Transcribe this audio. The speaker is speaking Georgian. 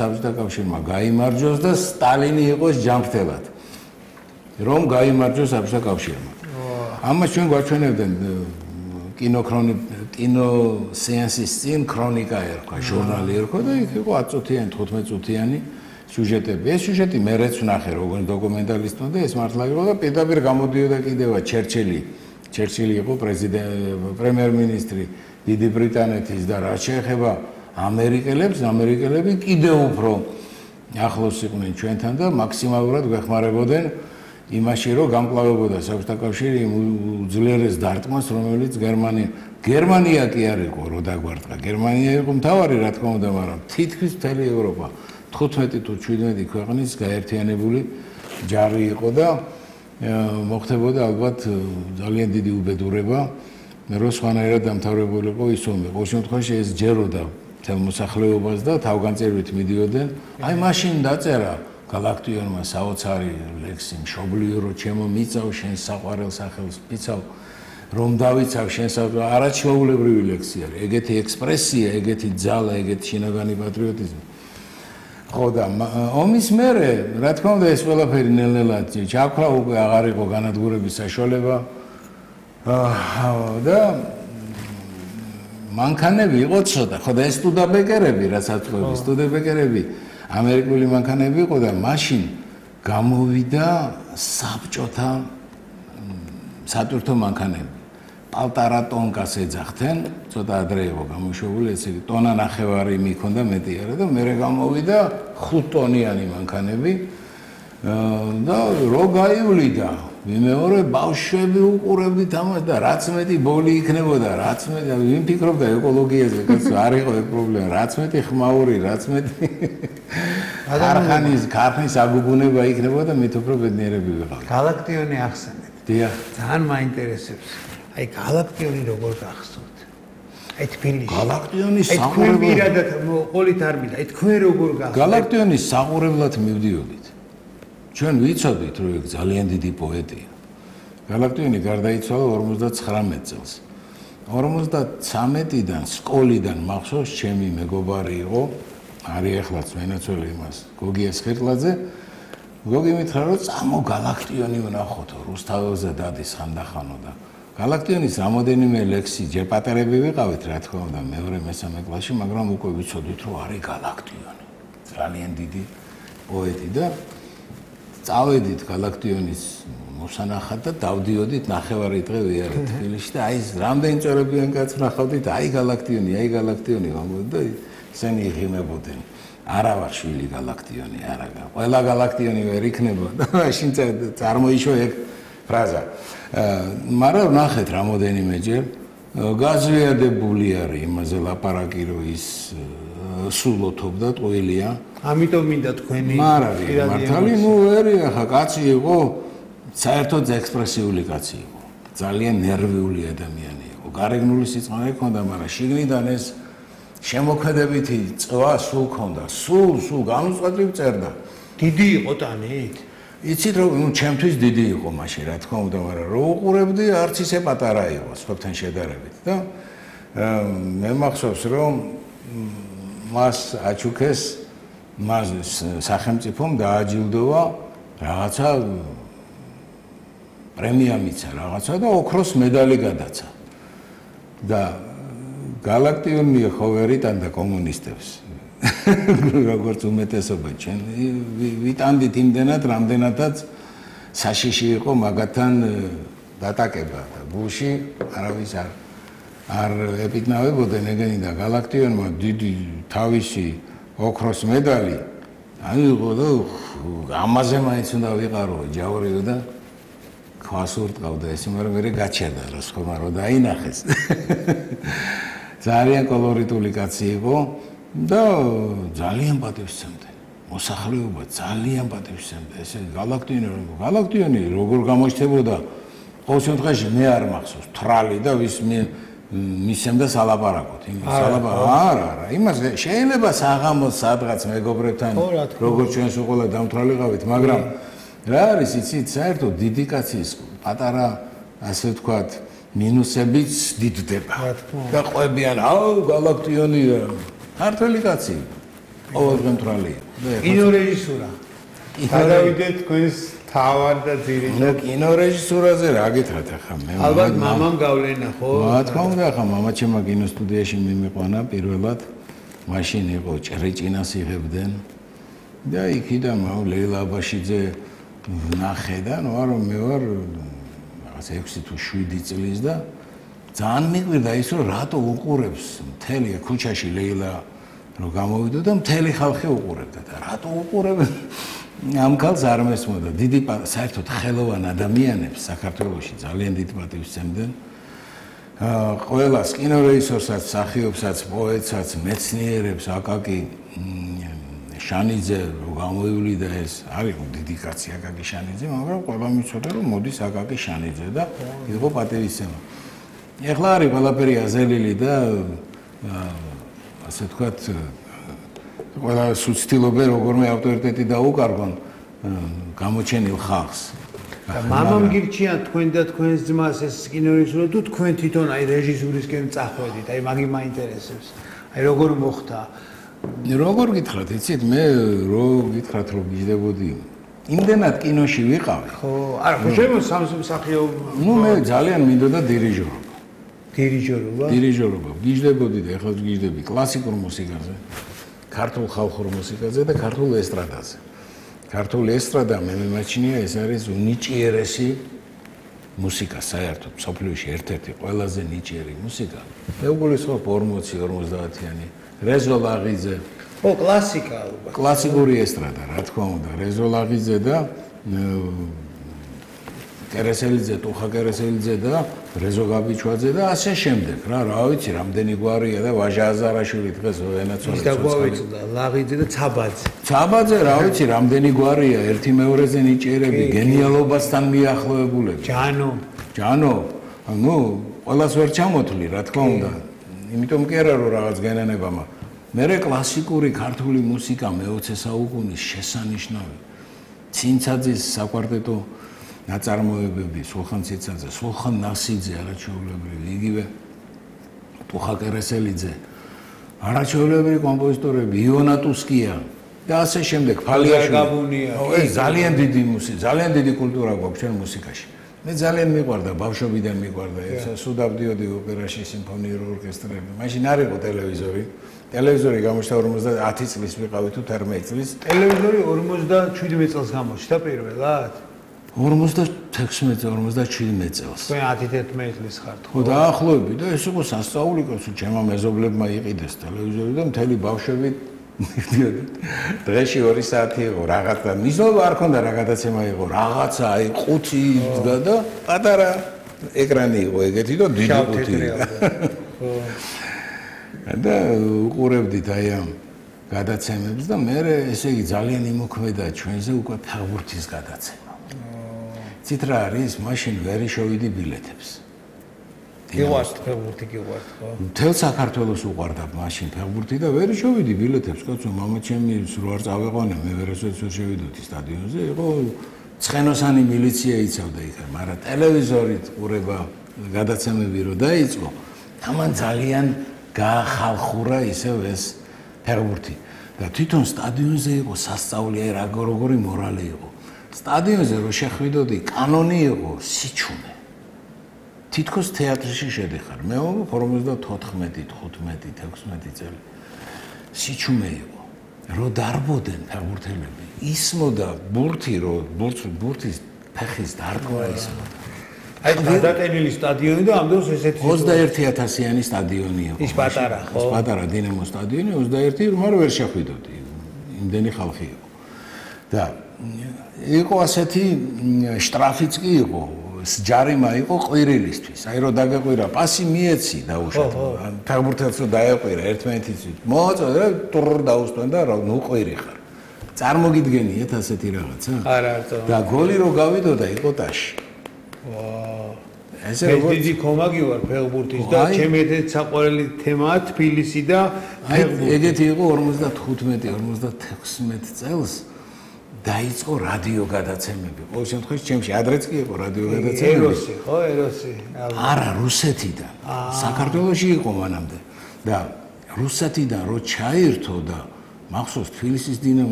საბჭოთა კავშირმა გაიმარჯვოს და სტალინი იყოს ჯანმრთელად. რომ გაიმარჯვოს საბჭოთა კავშირმა. ამას ჩვენ გვაჩვენებდნენ კინოსეანსის წინ ქრონიკა ერქვა, ჟურნალი ერქვა და იქ იყო 10 წუთიანი, 15 წუთიანი სიუჟეტები. ეს სიუჟეტი მეც ვნახე როგორც დოკუმენტალისტმა და ეს მართლა იყო და პირდაპირ გამოდიოდა კიდევა ჩერჩილი იყო პრემიერ-მინისტრი დიდი ბრიტანეთის და რაც შეეხება ამერიკელები კიდევ უფრო ახლოს იყვნენ ჩვენთან და მაქსიმალურად გვეხმარებოდნენ იმაში, რომ გამკლავებოდა საბჭოთა კავშირი უძლიერეს დარტყმას, რომელიც გერმანია კი არ იყო, რო დაგვარტყა. გერმანია იყო მთავარი, რა თქმა უნდა, მაგრამ თითქმის მთელი ევროპა 15 თუ 17 ქვეყნის გაერთიანებული ჯარი იყო და მოხდებოდა ალბათ ძალიან დიდი უბედურება, რომ სხვანაირად დამთავრებულიყო ის ომი. ყოველ შემთხვევაში ეს ჯეროდა მთელ მოსახლეობას და თავგანწირვით მიდიოდნენ. აი მაშინ დაწერა გალაქტიონმა საოცარი ლექსი მშობლიო რო ჩემო მიწავ შენ საყვარელ სახელს მიცავ რომ დავიცავ შენ არაჩვეულებრივი ლექსი არის. ეგეთი ექსპრესია, ეგეთი ძალა, ეგეთი შინაგანი პატრიოტიზმი. ხო და ომის მერე, რა თქმა უნდა, ეს ყველაფერი ნელ-ნელა ჩაქრა, უკვე აღარ იყო განადგურების საშუალება. და მანქანები იყო ცოტა. ხო და ეს სტუდაბეკერები, რასაც ყვები, სტუდაბეკერები ამერიკული მანქანები იყო და მაშინ გამოვიდა საბჭოთა სატვირთო მანქანები. პალტარა ტონკას ეძახდნენ, ცოტა ადრე იყო გამოშვებული, ესე იგი ტონა ნახევარი მიქონდა მეტი არა და მერე გამოვიდა 5 ტონიანი მანქანები და რო გაივლიდა ვიმეორე ბავშვები უყურებდით ამას და რაც მეტი ბოლი იქნებოდა, რაც მეტი ვინ ფიქრობდა ეკოლოგიაზე, კაცო, არ იყო ეგ პრობლემა, რაც მეტი ხმაური, რაც მეტი ქარხნის აგუგუნება იქნებოდა, მით უფრო ბედნიერები ვიყავით. გალაქტიონი ახსენეთ. დიახ. ძალიან მაინტერესებს. აი გალაქტიონი როგორ გახსოვთ? აი თბილისში. გალაქტიონის საყურებლად პირადად ყოლით არ მინდა. აი თქვენ როგორ გახსოვთ? გალაქტიონის საყურებლად მივდიოდით. ჩვენ ვიცოდით, რომ ეგ ძალიან დიდი პოეტია. გალაქტიონი გარდაიცვალა 59 წელს. 53-დან სკოლიდან მახსოვს ჩემი მეგობარი იყო, არის ახლაც მენაცვლე იმას, გოგია სხირტლაძე. გოგი მითხრა, რომ წამო გალაქტიონი ვნახოთო, რუსთაველზე დადის ხანდახანო და გალაქტიონის რამოდენიმე ლექსი ჯერ პატარები ვიყავით, რა თქმა უნდა, მეორე-მესამე კლასში, მაგრამ უკვე ვიცოდით, რომ არის გალაქტიონი. ძალიან დიდი პოეტი და წავედით გალაქტიონის მოსანახად და დავდიოდით ნახევარი დღე ვიარეთ თბილისში და აი რამდენი წორებიან კაც ვნახავდით, აი გალაქტიონი ვამბობთ და ისინი იღიმებოდნენ. არა ვარ შვილი გალაქტიონი, არა. ყველა გალაქტიონი ვერ იქნება და მაშინ წარმოიშვა ეგ ფრაზა. მაგრამ ვნახეთ რამოდენიმეჯერ გაზვიადებული არის იმაზე ლაპარაკი, რომ ის სულოთობდა ტყუილია. ამიტომ მინდა თქვენი მართალი, ნუ ვერია, ხა კაცი იყო, საერთოდ ექსპრესიული კაცი იყო. ძალიან ნერვიული ადამიანი იყო. გარეგნული სიწყნარე ჰქონდა, მაგრამ შიგნიდან ეს შემოქმედებითი წვა სულ ჰქონდა. სულ განუწყვეტლივ წერდა. დიდი იყო ტანით. იცით რომ ნუ ჩემთვის დიდი იყო მაშინ, რა თქმა უნდა, მაგრამ რო უყურებდი, არც ისე პატარა იყო სხვებთან შედარებით და მე მახსოვს რომ მას აჩუქეს მას სახელმწიფომ დააჯილდოვა რაღაცა პრემია მიცა რაღაცა და ოქროს медаლი გადაცა. და გალაქტიონი ხო ვერ იტანდა კომუნისტებს. როგორც უმეტესობა ჩვენ ვიტანდით იმდენად, რამდენადაც საშიში იყო მაგათთან დატაკება და გულში არავის არ ეპიტნავებოდნენ ეგენი და გალაქტიონმა დიდი თავისი ოქროს медаლი აიღო და ამაზე მაინც უნდა ვიყარო ჯავრიო და ქვას ურტყავდა ეს, მაგრამ მე გაჩერდა რა სხვა რო დაინახეს. ძალიან კოლორიტული კაცი იყო და ძალიან პატივსცემდა. მოსახლეობა ძალიან პატივსცემდა. ესე გალაქტიონი როგორ გამოჩნდებოდა ყოველ შემთხვევაში მე არ მახსოვს თრალი და ვის მისცემდა სალაპარაკოთ. არა, იმას შეიძლება საღამოს სადღაც მეგობრებთან როგორც ჩვენს უყოლა დამთვალიყავით, მაგრამ რა არის იცით, საერთოდ დიდი კაცის პატარა ასე ვთქვათ მინუსებიც დიდდება და ყვებიან, აუ გალაქტიონი ქართველი კაცი. ყოველდღე მთვრალი იყო. კინორეჟისურა. გადავიდეთ თქვენს თავად და ძირითად. ნუ კინორეჟისურაზე რა გითხრათ ახლა მე? ალბათ მამამ გავლენა ხო? რა თქმა უნდა, ახლა მამაჩემმა კინოსტუდიაში მიმიყვანა პირველად. მაშინ იყო ჭრიჭინას იღებდნენ და იქიდან ლეილა აბაშიძე ნახე და ნუ არა მე ვარ რაღაც 6 თუ 7 წლის და ძალიან მიყვირდა ის რომ რატო უყურებს მთელი ქუჩაში ლეილა რომ გამოვიდო და მთელი ხალხი უყურებდა და რატო უყურებს ამ ქალს არ მესმოდა დიდი საერთოდ ხელოვან ადამიანებს საქართველოში ძალიან დიდ პატივს სცემდნენ ყველას კინორეჟისორსაც, მსახიობსაც, პოეტსაც, მეცნიერებს, აკაკი შანიძე გამოივლიდა ეს არის დიდი კაცი აკაკი შანიძე, მაგრამ ყველა მიცოდა რომ მოდის აკაკი შანიძე და იყო პატივისცემა. ეხლა არის ყველაფერი აზელილი და ასე ვთქვათ ყველა სუცდილობენ როგორმე ავტორიტეტი დაუკარგონ გამოჩენილ ხალხს. მამამ გირჩია თქვენ და თქვენს ძმას ეს კინორეჟისურა თუ თქვენ თვითონ აი რეჟისურისკენ წახვედით, აი მაგი მაინტერესებს. აი როგორ მოხდა? როგორ გითხრათ, იცით, მე რო გითხრათ რომ გიждდებოდი. იმდენად კინოში ვიყავი. ხო, არა, ხო შემოსამს მსახიობ. ნუ მე ძალიან მინდოდა დირიჟორობა. დირიჟორობა? დირიჟორობა. გიждდებოდი და ეხლა გიждდები კლასიკურ მუსიკაზე, ქართულ ხალხურ მუსიკაზე და ქართულ ესტრადაზე. ქართული ესტრადა მე მიმაჩნია ეს არის უნიჭიერესი მუსიკა საერთოდ სოფლიოში ერთ-ერთი ყველაზე ნიჭიერი მუსიკა. მე უგულისხმობ 40-50-იანი რეზო ლაღიძე. ო კლასიკა ალბათ. კლასიკური ესტრადა რა თქმა უნდა რეზო ლაღიძე და კერესელიძე, ტუხა კერესელიძე და რეზო გაბიჩვაძე და ასე შემდეგ რა ვიცი რამდენი გვარია და ვაჟა აზარაშვილი დღეს ენაცოლა ის დაგვავიწყდა ლაღიძე და ცაბაძე. ცაბაძე რა ვიცი რამდენი გვარია ერთი მეორეზე ნიჭიერები გენიალობასთან მიახლოებულები. ჯანო ნუ ყველას ვერ ჩამოთვლი რა თქმა უნდა. იმიტომ კი არა რომ რაღაც გენანება მე კლასიკური ქართული მუსიკა მე-20 საუკუნის შესანიშნავი ცინცაძის საკვარტეტო ნაწარმოებები, სულხან ციცაძე, სულხან ნასიძე არაჩვეულებრივი, იგივე ტუხა კერესელიძე, არაჩვეულებრივი კომპოზიტორები, იონა ტუსკია და ასე შემდეგ, ფალიაშვილი. ეს ძალიან დიდი მუსიკა, ძალიან დიდი კულტურა გვაქვს ჩვენ მუსიკაში. მე ძალიან მიყვარდა, ბავშვობიდან მიყვარდა, სულ დავდიოდი ოპერაში, სიმფონიურ ორკესტრებში. მაშინ არ იყო ტელევიზორი. ტელევიზორი გამოჩნდა 50 წლის ვიყავი თუ 18 წლის. ტელევიზორი 57 წელს გამოჩნდა პირველად? 56-57 წელს. თქვენ 10-11 წლის ხართ ხო? ხო, დაახლოებით და ეს იყო სასწაული კაცო, ჩემმა მეზობლებმა იყიდეს ტელევიზორი და მთელი ბავშვები მიდიოდით. დღეში 2 საათი იყო რაღაცა, მიზნობა არ ქონდა რა გადაცემა იყო, რაღაცა აი ყუთი იდგა და პატარა ეკრანი იყო ეგეთი და დიდი ყუთი. ხო. და უყურებდით აი ამ გადაცემებს და მე ესე იგი ძალიან იმოქმედა ჩვენზე უკვე ფეხბურთის გადაცემა. ცით რა არის, მაშინ ვერ შევიდი ბილეთებს. გიყვართ ფეხბურთი გიყვართ ხო? მთელ საქართველოს უყვარდა მაშინ ფეხბურთი და ვერ შევიდი ბილეთებს, კაცო, მამაჩემი რო არ წავეყვანე, მე ვერასოდეს ვერ შევიდოდი სტადიონზე, იყო ცხენოსანი მილიცია იცავდა იქ, მაგრამ ტელევიზორით ყურება გადაცემები რო დაიწყო, ამან ძალიან გაახალხურა ისევ ეს ფეხბურთი და თვითონ სტადიონზე იყო სასწაული, აი როგორი მორალი იყო. სტადიონზე რო შეხვიდოდი, კანონი იყო სიჩუმე. თითქოს თეატრში შედიხარ. მე 54, 15, 16 წელი. სიჩუმე იყო. რო დარბოდნენ ფეხბურთელები, ისმოდა ბურთი, რო ბურთის ფეხის დარგვა ისმოდა. აი გადატენილი სტადიონი და ამ დროს ესეთი 21000-იანი სტადიონი იყო. ის პატარა ხო? ის პატარა დინამო სტადიონი 21, მაგრამ ვერ შეხვიდოდი. იმდენი ხალხი იყო. და იყო ასეთი შტრაფიც კი იყო, ჯარიმა იყო ყვირილისთვის. აი რომ დაგეყვირა, პასი მიეცი დაუშვათ. ფეხბურთელს რომ დაეყვირა ერთმანეთისთვის. მოაწოდა და ტურ დაუსვენ და ნუ ყვირი ხარ. წარმოგიდგენიათ ასეთი რაღაცა? არა, და გოლი რო გავიდოდა იყო ტაში. ესე როგორც დიდი კომაგი ვარ ფეხბურთის და ჩემი ერთ-ერთი საყვარელი თემაა თბილისი და ფეხბურთი. ეგეთი იყო 55-56 წელს დაიწყო რადიო გადაცემები. ყოველ შემთხვევაში ჩემში ადრეც კი იყო რადიო გადაცემები. ეროსი, ხო, ეროსი. არა, რუსეთიდან. საქართველოში იყო მანამდე. და რუსეთიდან რო ჩაირთო და მახსოვს თბილისის დინამო